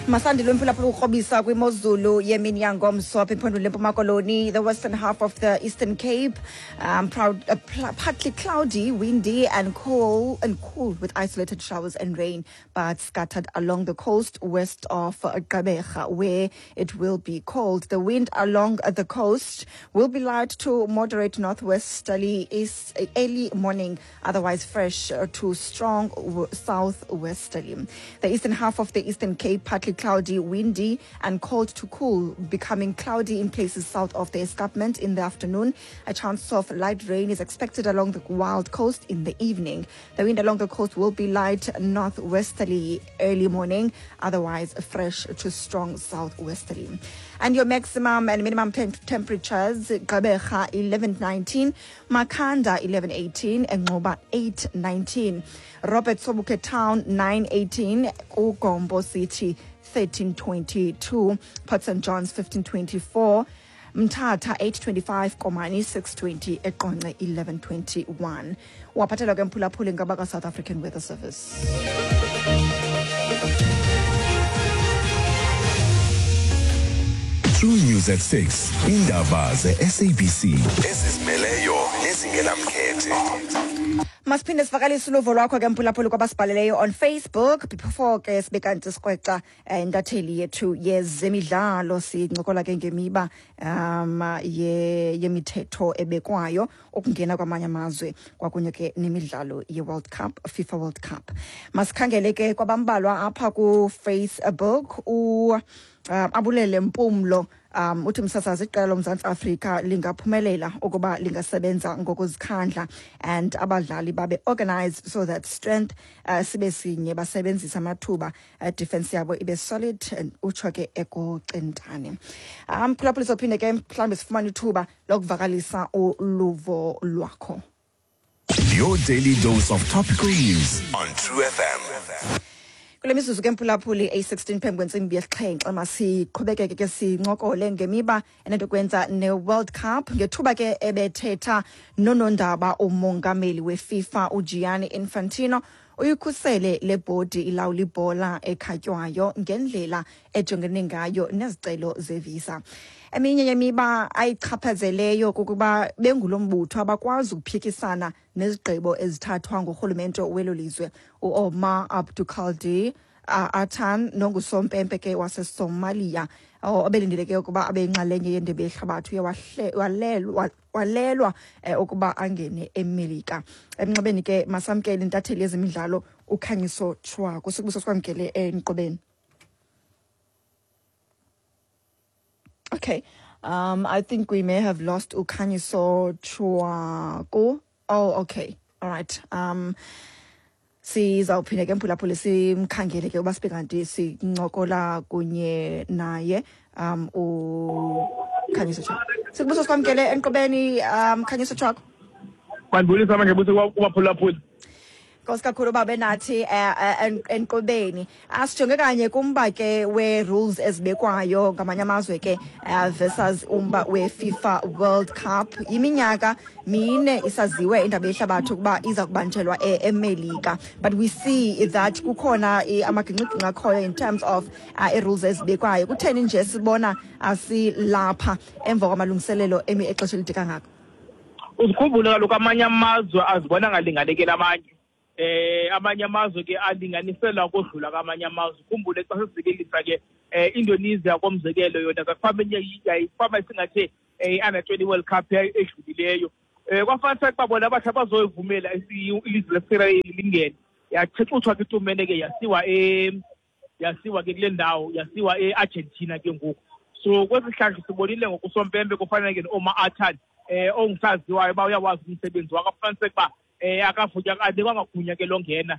Masandile mphulaphula ukrobisa kwimozulu yemini yangomso apha ephondweni lempuma koloni, the western half of the Eastern Cape, partly cloudy, windy and cool with isolated showers and rain, but scattered along the coast west of Gqeberha, where it will be cold. The wind along the coast will be light to moderate northwesterly east early morning, otherwise fresh to strong southwesterly. The eastern half of the Eastern Cape, partly cloudy, windy and cold to cool, becoming cloudy in places south of the escarpment in the afternoon. A chance of light rain is expected along the wild coast in the evening. The wind along the coast will be light northwesterly early morning, otherwise fresh to strong southwesterly. And your maximum and minimum temperatures: Gqeberha 11.19, Makhanda 11.18, and Nxuba 8.19. Robert Sobukwe Town 9.18, KuGompo City 13.22, Port St. John's 15.24, Mthatha 8.25, Komani 6.20, eQonce 11.21. Waphathelwa ke mphulaphuli ngabaka-South African Weather Service. True News at 6. Indaba ze-SABC ezizimeleyo nezingenamkhethe. Masiphinde sivakalise uluvo lwakho ke mphulaphuli kwabasibhaleleyo on Facebook before ke sibe kanti sikrweca intatheli yethu yezemidlalo. Sincokola ke ngemiba yemithetho ebekwayo ukungena kwamanye amazwe kwakunye ke nemidlalo ye-World Cup, FIFA World Cup. Masikhangele ke kwabambalwa apha ku-Facebook. Abulele Mpumlo uthi, msasazi, iqela loMzantsi Afrika lingaphumelela ukuba lingasebenza ngokuzikhandla and abadlali babe organized so that strength sibe sinye, basebenzise amathuba, defense yabo ibe solid, and utsho ke ekucentane. Phulaphula, sophinde ke mhlawumbi sifumane ithuba lokuvakalisa uluvo lwakho. Your daily dose of topical news on True FM. Kule mizuzu ke mphulaphuli eyi-16 phambi kwentsimbi yesixhenxe, masiqhubekeke ke sincokole ngemiba enento kwenza ne-World Cup. Ngethuba ke ebethetha nonondaba umongameli weFIFA uGianni Infantino uyikhusele le bhodi ilawula ibhola ekhatywayo ngendlela ejongene ngayo nezicelo zevisa. Eminye yemiba ayichaphazeleyo kukuba bengulo mbutho abakwazi ukuphikisana nezigqibo ezithathwa ngurhulumente welo lizwe. UOmar Abdulkadir Atan nongusompempe ke waseSomalia obelindeleke ukuba abe yinxalenye yendebe yehlabathi uye walelwa ukuba angene eMelika. Emnxebeni ke masamkele intatheli yezemidlalo uKhanyiso Tshwaku. Sikubuso sikwamkele enkqubeni. Okay. I think we may have lost Ukhanyiso Tshwaku. Oh, okay. All right. Sizawuphinda ke mphulaphuli simkhangele ke uba sibe kanti sincokola kunye naye uKhanyiso Tshwaku. Sikubuso sikwamkele enkqubeni, Khanyiso Tshwaku. Mandibulisa manje buthi kubaphulaphuli. Nkosi kakhulu uba benathi enkqubeni. Asijonge kanye kumba ke we-rules ezibekwayo ngamanye amazwe ke versus umba we-FIFA World Cup. Iminyaka mine isaziwe indaba yehlabathi ukuba iza kubanjelwa eMelika, but we see that kukhona amagingxigingxi akhoyo in terms of ii-rules ezibekwayo. Kutheni nje sibona asilapha emva kwamalungiselelo emi exesha elide kangaka? Uzikhumbule kaloku, amanye amazwe azibona ngalinganekeli amanye. Amanye amazwe ke alinganiselwa kodlula kwamanye amazwe. Ukhumbule xa sisizekelisa ke Indonesia komzekelo, yona kakufama enye yayifama isingathe i-under 20 World Cup edlulileyo. Kwafanisa ukuba bona bathi abazoyivumela ilizwe leSirayeli lingene. Yachecuthwa ke itumene ke, yasiwa ke kule ndawo, yasiwa e-Argentina ke ngoku. So kwesi sihlandlo sibonile ngokusompempe kufanele ke no-Omar Atan, ongusaziwayo uba uyawazi umsebenzi wakhe, afumaniseke uba akavunya, anikwanga gunya ke longena.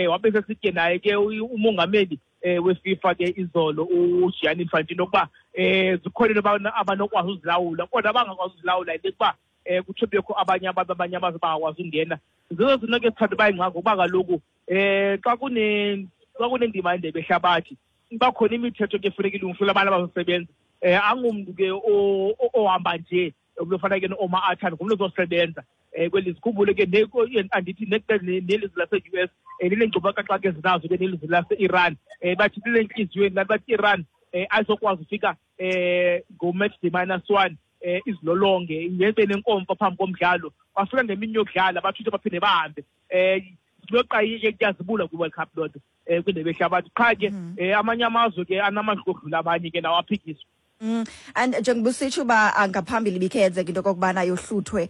Wabe sesitye naye ke umongameli weFIFA ke izolo uGianni Infantino ukuba zikhona into abanokwazi uzilawula, kodwa abangakwazi uzilawula yile kuba kuthiwe bekho abanye abantu, abanye amazwe bangakwazi ungena. Zezo zinto ke sithanda uba yingxaki, ngokuba kaloku xa kunendima yendebe ehlabathi iba khona imithetho ke funeka ilungiselwe abantu abazosebenza. Angumntu ke ohamba nje umntu ofana ke no-Omar Atan, ngumntu ozosebenza kweli. Sikhumbule ke andithi nelizwe lase-US lineenkcukacha ezinazo ke nelizwe lase-Iran. Bathithile entliziyweni laa bathi Iran ayizokwazi ufika ngo-match day -1, izilolonge yenze nenkomfa phambi komdlalo. Bafika ngemini yokudlala, bathuthe baphinde bahambe. Loqa kuyazibula kwi-World Cup loo nto, kwindebe yehlabathi. Qha ke amanye amazwe ke anamandla okudlula abanye ke, nawo aphikiswa. And njengoba usitsho uba ngaphambili ibikhe yenzeka into okokubana yohluthwe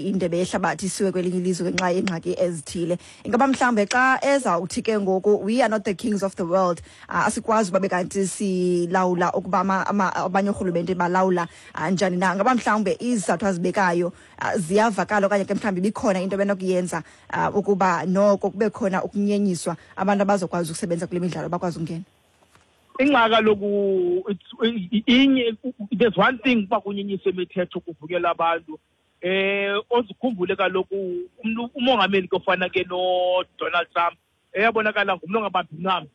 indebe yehlabathi isiwe kwelinye ilizwe ngenxa yeengxaki ezithile, ingaba mhlawumbe xa ezawuthi ke ngoku we are not the kings of the world, asikwazi uba bekanti silawula ukuba abanye oorhulumente balawula njani na, ngaba mhlawumbe izizathu azibekayo ziyavakala, okanye ke mhlawumbi ibikhona into benokuyenza ukuba noko kube khona ukunyenyiswa, abantu abazokwazi ukusebenza kule midlalo bakwazi ukungena? Ingxaki kaloku inye. There's one thing uba kunyenyiswe imithetho kuvukela abantu. Ozikhumbule kaloku umntu umongameli ke ofana ke noDonald Trump, eyabonakala ngumntu ongabambi ncam,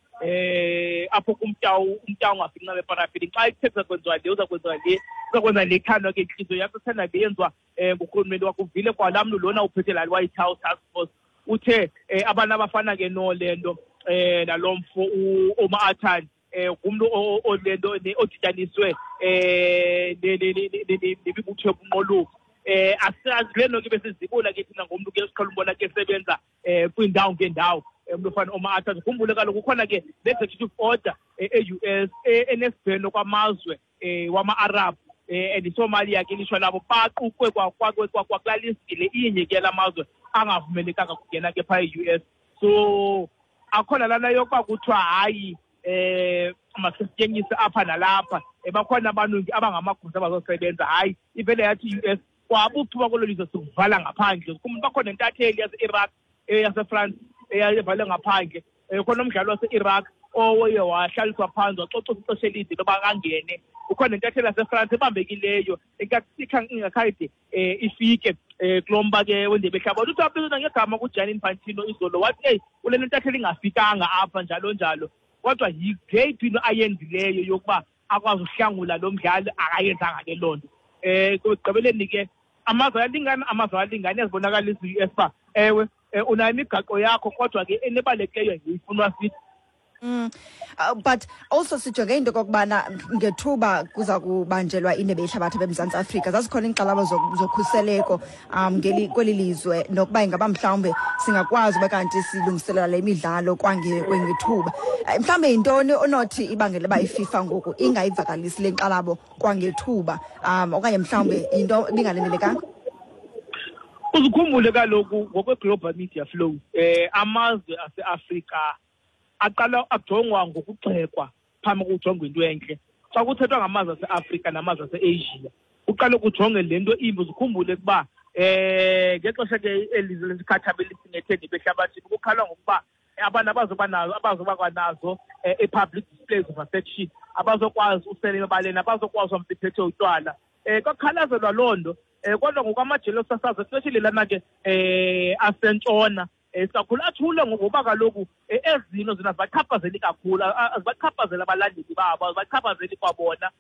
apho kumtyawu umtyawu ungafiki ncam eparafini. Xa ithetha kwenziwa le, uza kwenziwa le, uza kwenza le, ithandwa ke intliziyo yakho, ithanda le yenziwa ngurhulumente wakho. Uvile kwalaa mntu lona uphethe laa White House task force, uthe abantu abafana ke nole nto nalo mfo Omar Attan, ngumntu olento odityaniswe nemibutho yobunqoluko. Asazi le nto ke besizibula ke thina ngomntu ke siqhela umbona ke sebenza kwiindawo ngeendawo, umntu ofana Omar Attan. Khumbule kaloku kukhona ke ne-executive order e-US enesibheno kwamazwe wama-Arab, and iSomalia ke lishwa labo, baqukwe kwakulaa list le inye ke lamazwe angavumelekanga kungena ke phaa e-US. So akhona lana yokuba kuthiwa hayi, masisetyenziswe apha nalapha, bakhona abantu abangamagosa abazosebenza. Hayi, ivele yathi i-US kwabuphuma kwelo lizwe sikuvala ngaphandle. Bakhona nentatheli yase-Iraq, yaseFrance, eyayivale ngaphandle. Khona umdlalo wase-Iraq oye wahlaliswa phansi, wacocwa ixesha elide loba angene. Ukhona nentatheli yaseFrance ebambekileyo ingakhange ifike kulo mba ke wendebe yehlabathi. Uthi wabizwa ngegama kuGianni Infantino izolo, wathi eyi, kule ntatheli ingafikanga apha, njalo njalo. Kodwa yeyiphi into ayenzileyo yokuba akwazi uhlangula lo mdlali? Akayenzanga ke loo nto. Ekugqibeleni ke amazwe ayalingana, amazwe ayalingana. Iyazibonakalisa i-US uba ewe, unayo imigaqo yakho, kodwa ke enebalulekileyo yifunwa sithi. But also sijonge into okokubana ngethuba kuza kubanjelwa indebe yehlabathi eMzantsi Afrika, zazikhona iinkxalabo zokhuseleko ngeli kweli lizwe, nokuba ingaba mhlawumbe singakwazi uba kanti silungiselela le midlalo kwangethuba. Mhlawumbe yintoni onothi ibangele uba iFIFA ngoku ingayivakalisi le nkxalabo kwangethuba, okanye mhlawumbe yinto ibingalindelekanga? Uzikhumbule kaloku ngokwe-global media flow, amazwe aseAfrika aqala ajongwa ngokugxekwa phambi kokujongwa into entle. Xa kuthethwa ngamazwe aseAfrika namazwe aseAsia, uqale kujonge le nto imbi. Uzikhumbule ukuba ngexesha ke elizwe lesikhathabe lisingethe ndebe ehlabathini, kukhalwa ngokuba abantu abazoba nazo, abazoba kwanazo i-public displays of affection, abazokwazi usela emabaleni, abazokwazi uhamba bephethe utywala. Kwakhalazelwa loo nto. Kodwa ngokwamajelo osasazo, especially lana ke asentshona, kakhulu athule, ngokuba kaloku ezino zona zibachaphazeli kakhulu, azibachaphazeli abalandeli babo, azibachaphazeli kwabona.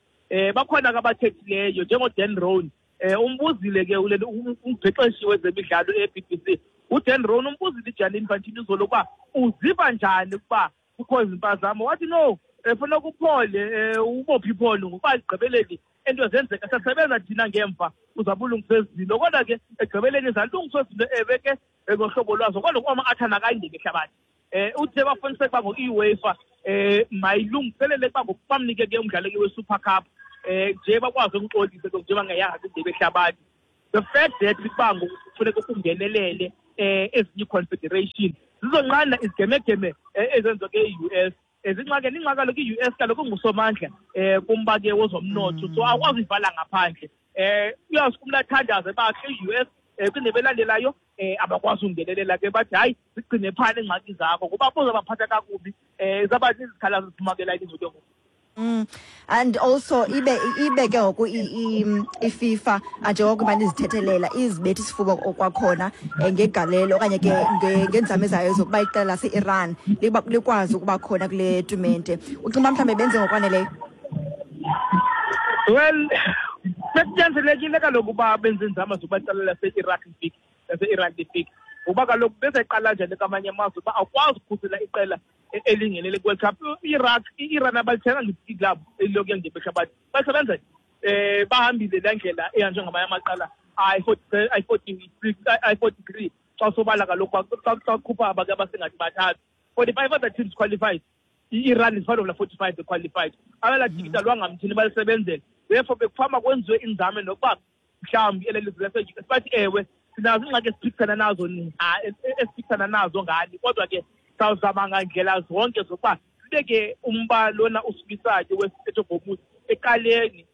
Bakhona ke abathethileyo njengoDan Roan. Umbuzile ke umbhexeshi wezemidlalo e-BBC, uDan Roan, umbuzile iGianni Infantino izolo ukuba uziva njani ukuba kukho izimpazamo. Wathi no, funeka uphole, ubophe ipholo, ngokuba ekugqibeleni into zenzeka, siyasebenza thina ngemva, uzawube ulungisa ezinto. Kodwa ke ekugqibeleni zalungiswa izinto, ewe ke, ngohlobo lwazo. Kodwa kwama athana akayindebe ehlabathi, uthe bafuniseke uba ngoku-UEFA mayilungiselele ukuba ngoku bamnike ke umdlalo ke we-Super Cup, nje bakwazi ukuxolisa ke nje bangayanga kwindebe ehlabathi. The fact that ukuba ngoku kufuneka kungenelele ezinye ii-confederation zizonqanda izigemegeme ezenziwa ke i-US. Zingxaki ingxaki kaloku i-US kaloku ingusomandla kumba ke wezomnotho, so akwazi uyivala ngaphandle. Uyawusuke umntu athandaze uba khe i-US kwindebe elandelayo abakwazi ungenelela ke, bathi hayi, zigcine phana iingxaki zakho, ngoba buzabaphatha kakubi, zaba zizikhalazo ziphuma ke la ilizwe ke ngoku. And also ibe ke ngoku iFIFA, njengokuba nizithethelela, izibetha isifuba kwakhona ngegalelo okanye ke ngeenzame zayo zokuba iqela lase-Iran likwazi ukuba khona kule tumente. Ucinga uba mhlawumbe benze ngokwaneleyo? Well, bekunyanzelekile kaloku uba benze iinzame zokuba iqela lase-Iraq lifike, lase-Iran lifike, ngokuba kaloku bezayiqala njani kwamanye amazwe uba awukwazi ukhusela iqela. Elingenele kwi-World Cup, i-Iraq, i-Iran abalithenga ngetikiti labo elilokuya ngendebe yehlabathi, basebenza bahambile laa ndlela ehanjwe ngamanye amaqela ayi-46, ayi-43. Xa sobala kaloku, xa khupha abake abasengathi bathathu, 45 other teams qualified. I-Iran is part of la 45 qualified. Abela tikiti alwangamthini, balisebenzele. Therefore bekufama kwenziwe inzame nokuba mhlawumbi ele lizwe lase-US bathi, ewe, sinazo iingxaki esiphikisana nazo ngani, kodwa ke sawuzama ngandlela zonke zokuba sibeke umba lona usukisayo we-Strait of Hormuz ecaleni,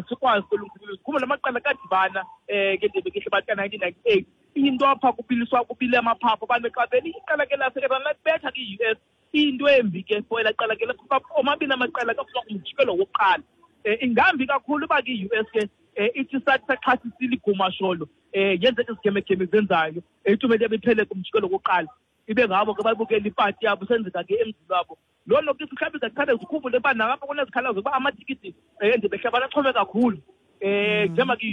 sikwazi ukulungiselela. Khumbula amaqela kadibana ngendebe yehlabathi ka-1998, into apha kubiliswa, kubile amaphaphu, abantu bexabele iqela ke lase-Iran labetha ke-US. Into embi ke for elaa qela ke, omabini amaqela kaphuma kumjikelo wokuqala. Ingambi kakhulu uba ke i-US ke ithi sathi saxhasisile igumasholo, yenzeka izigemegeme zenzayo, itumente yabo iphele kumjikelo wokuqala, ibe ngabo ke babukela ipati yabo senzeka ke emzini wabo. Loo nto ke mhlawumbi izaqhale. Zikhumbule uba nalapho kunezikhalazo zokuba amatikiti endebe yehlabathi axhome kakhulu, njengoba ke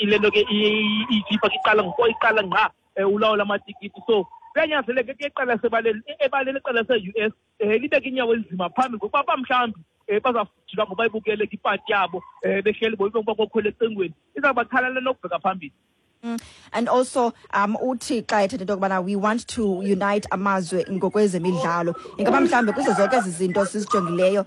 ile nto ke iFIFA ke iqala ngoko iqala ngqa ulawula amatikiti. So kuyanyanzeleka ke iqela sebaleni ebaleni, iqela lase-US libeke inyawo elinzima phambili, ngokuba ba mhlawumbi bazawujika ngoba ibukele ke ipati yabo behleli boba kokhwela ecingweni, izawubakhalela nokubheka phambili. And also uthi xa ethetha into yokubana we want to unite amazwe ngokwezemidlalo, ingaba mhlawumbi kuzo zonke ezi zinto sizijongileyo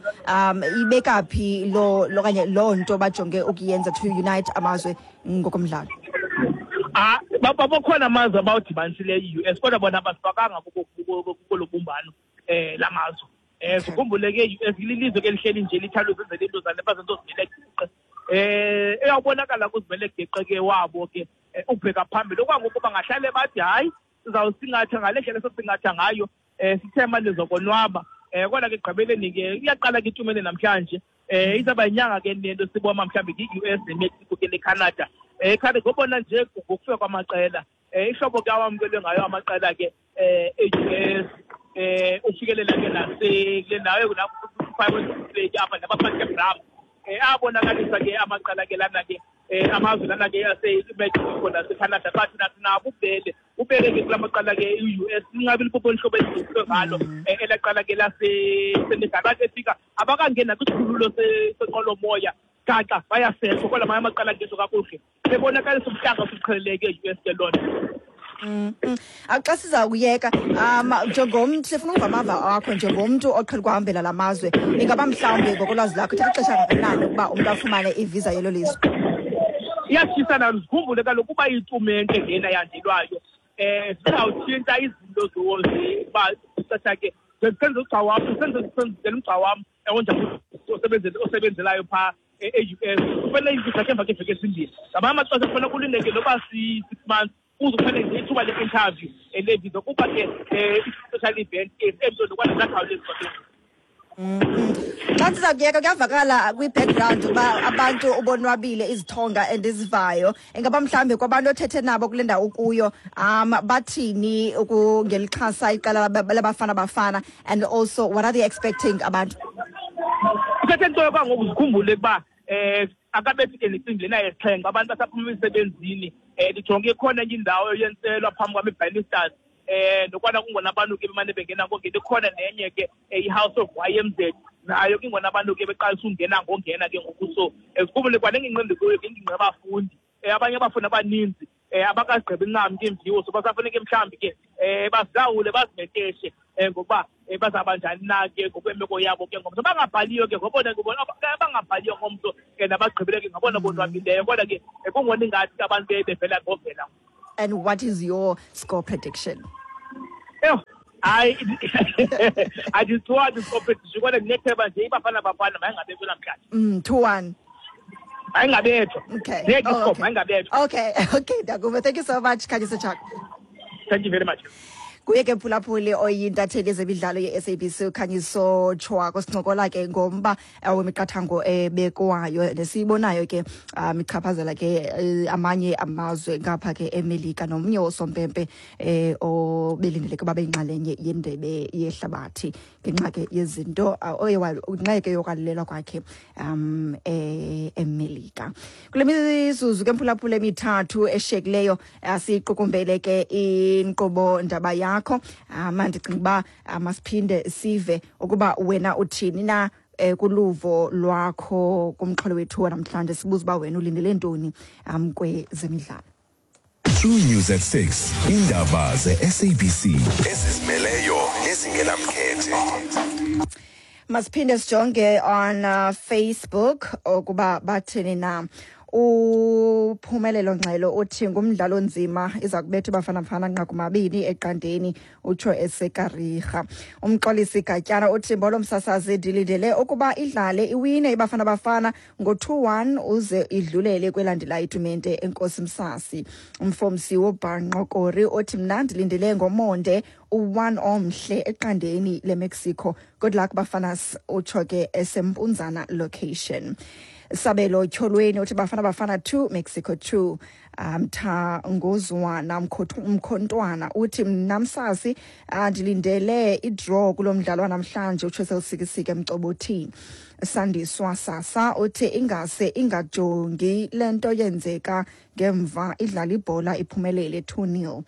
ibeka phi lo okanye loo nto bajonge ukuyenza to unite amazwe ngokomdlalo? Ah, bakhona amazwe abawudibanisileyo i-US, kodwa bona abasifakanga kulo bumbano lamazwe. Sikhumbule ke i-US lilizwe ke lihleli nje lithanda uzenzela into zale, bazenza ozimele geqe. Eyawubonakala kuzimele geqe ke wabo ke ukubheka phambili okwangoku, bangahlale bathi hayi, sizawusingatha ngale ndlela esosingatha ngayo, sithe manje zokonwaba. Kodwa ke ekugqibeleni ke iyaqala ke itumente namhlanje, izawuba yinyanga ke nento sibona mhlawumbi i-US neMexico ke neCanada. Canada ngobona nje ngokufika kwamaqela, ihlobo ke awamkelwe ngayo amaqela ke e-US, ufikelela ke nase kule ndawo lapho five apha nabaphathe bram, abonakalisa ke amaqela ke lana ke amazwe lana ke aseMexico naseCanada, bathi nathi nabo ubele ubele ke kula maqela ke i-US inqabe lipopo lihlobo elidlulwe ngalo elaqala ke laseSenegal. Bathi efika abakangeni nakwisikhululo senqwelomoya, gaxa bayaseshwa, kodwa amanye amaqela angezo kakuhle, bebonakalisa ubuhlanga osuqheleleke e-US ke loo nto. Xa siza kuyeka, njengomntu, sifuna uva amava akho njengomntu oqhela ukuhambela la mazwe, ingaba mhlawumbi ngokolwazi lakho ithatha ixesha kangakanani ukuba umntu afumane ivisa yelo lizwe? Iyatshisana. Zikhumbule kaloku uba itumente lena yandelwayo zizawutshintsha izinto zoba ixesha ke senze ugxa wam, senzela umgca wam onjani osebenzelayo phaa e-US, kufanele ivisa ke emva kweeveki ezimbini. Ngamanye amaxesha kufanele kulindeke noba si-6 months kuze kufanele nje ithuba le-interview levisa, kuba ke i-special event emnto nokwana zakhawulezi kwakhe. Xa siza kuyeka, kuyavakala kwi-background uba abantu ubonwabile, izithonga endizivayo. Ingaba mhlawumbi kwabantu othethe nabo kule ndawo ukuyo bathini ngelixhasa iqela laBafana Bafana, and also what are they expecting abantu? Uthethe nto kwangoku, zikhumbule ukuba akabethi ke necimbi lena yesixhenxe, abantu basaphuma emisebenzini. Ndijonge ikhona enye indawo yentselo phambi kwam, iBanisters, nokwana kungona abantu ke bemane bengena ngongena. Ikhona nenye ke i-House of YMZ, nayo ke ingona abantu ke beqalisa ungena ngongena ke ngoku. So zikhumbule kwanengingqi endikuyo, ngengingqi abafundi, abanye abafundi abaninzi abakazigqibi ncam ke imviwo, so basafuneke mhlawumbi ke bazilawule, bazimeteshe ngokuba bazawuba njani na ke ngokwemeko yabo ke ngomso. Bangabhaliyo ke ngobona abangabhaliyo ngomso ke nabagqibile ke ngabona bonwabileyo, kodwa ke kungona ingathi ke abantu bevela ngovela. And what is your score prediction? Eyo, hayi, andisiwazi score prediction, kodwa ndinethemba nje iBafana Bafana mayingabethwa namhlanje. 2-1. Mayingabethwa. Okay. Ndiyeke Oh, iscore, okay. mayingabethwa. Okay, ndakuva. Thank you so much, Khanyiso Tshaka. Thank you very much. Kuye ke, mphulaphuli, oyintatheli yezemidlalo ye-SABC uKhanyiso Tshwako, sincokola ke ngomba wemiqathango ebekwayo nesiyibonayo ke ichaphazela ke amanye amazwe ngapha ke eMelika, nomnye wosompempe obelindeleke uba beyinxalenye yendebe yehlabathi. Ngenxa ke yezinto oye ngenxa ke yokwalelwa kwakhe eMelika. Kule mizuzu ke, mphulaphula, emithathu eshiyekileyo, siyiqukumbele ke inkqubo ndaba yakho. Ndicinga uba masiphinde sive ukuba wena uthini na kuluvo lwakho kumxholo wethu wanamhlanje. Sibuza uba wena ulindele ntoni kwezemidlalo. True News at 6. Indaba ze-SABC ezizimeleyo nezingenamkhethe. Masiphinde sijonge on Facebook ukuba bathini na. Uphumelelo Ngxelo uthi ngumdlalo onzima, iza kubetha iBafana Bafana 2-0, utsho eseKariha. Umxolisi Gatyana uthi, "Mbolo msasazi, ndilindele ukuba idlale iwine iBafana Bafana ngo-2-1 uze idlulele kwelandelayo itumente. Enkosi, msasi." Umfomsi wobhanqokori uthi, "Mna ndilindele ngomonde u-1 omhle 0 leMexico. Good luck, Bafanas," utsho ke eseMpunzana location. Sabelo Tyholweni uthi, "Bafana Bafana 2, Mexico 2." Mthangozwana Mkhontwana uthi, "Mna msasi, ndilindele idraw kulo mdlalo wanamhlanje," utsho selusikisike emcobothini. Sandiswa Sasa uthi, "Ingase ingajongi le nto yenzeka ngemva, idlala ibhola iphumelele 2-0."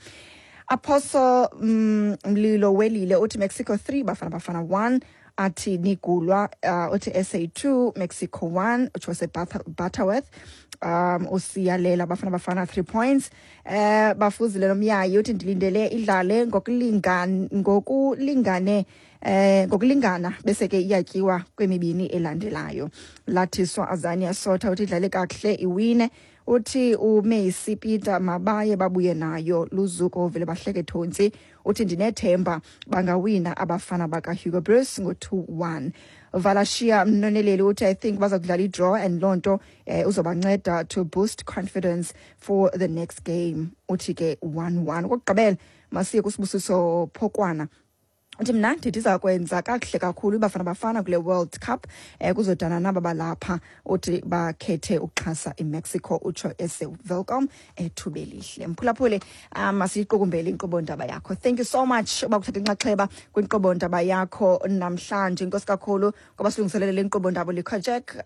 Apostle Mlilo Welile uthi, "Mexico 3, Bafana Bafana 1." Athi nigulwa uthi, "SA 2, Mexico 1," utsho Butterworth. Usiyalela Bafana Bafana 3 points. Bafuzile nomyayi uthi, "Ndilindele idlale ngokulingane ngokulingana bese ke iyatyiwa kwemibini elandelayo." Lathiswa Azania Sotha uthi, "Idlale kakuhle, iwine." Uthi uMessi Peter, "Mabaye babuye nayo." Luzuko vele bahleke thontsi uthi, "Ndinethemba bangawina abafana bakaHugo Broos ngo-2-1." Valashiya Mnoneleli uthi, "I think baza kudlala idraw and loo nto uzobanceda to boost confidence for the next game." Uthi ke 1-1. Okokugqibela masiye kuSibusiso Phokwana uthi, "Mna ndithi iza kwenza kakuhle kakhulu iBafana Bafana kule World Cup, kuzodana naba balapha." Uthi bakhethe ukuxhasa iMexico, utsho eseWelkom eThubelihle. Mphulaphuli, masiyiqukumbele inkqubo ndaba yakho. Thank you so much uba kuthatha inxaxheba kwinkqubo ndaba yakho namhlanje. Inkosi kakhulu ngoba silungiselele le nkqubo ndaba, Likajek,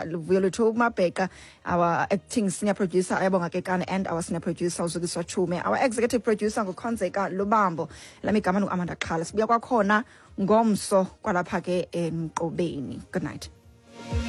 Luvuyo Lwethu Mabheqa, our acting senior producer Ayabonga Kekana, and our senior producer uZukiswa Chume. Our executive producer nguKhonzeka Lubambo. Lami igama nguAmanda Xhala. Sibuya kwakhona ngomso kwalapha ke enkqubeni. Good night.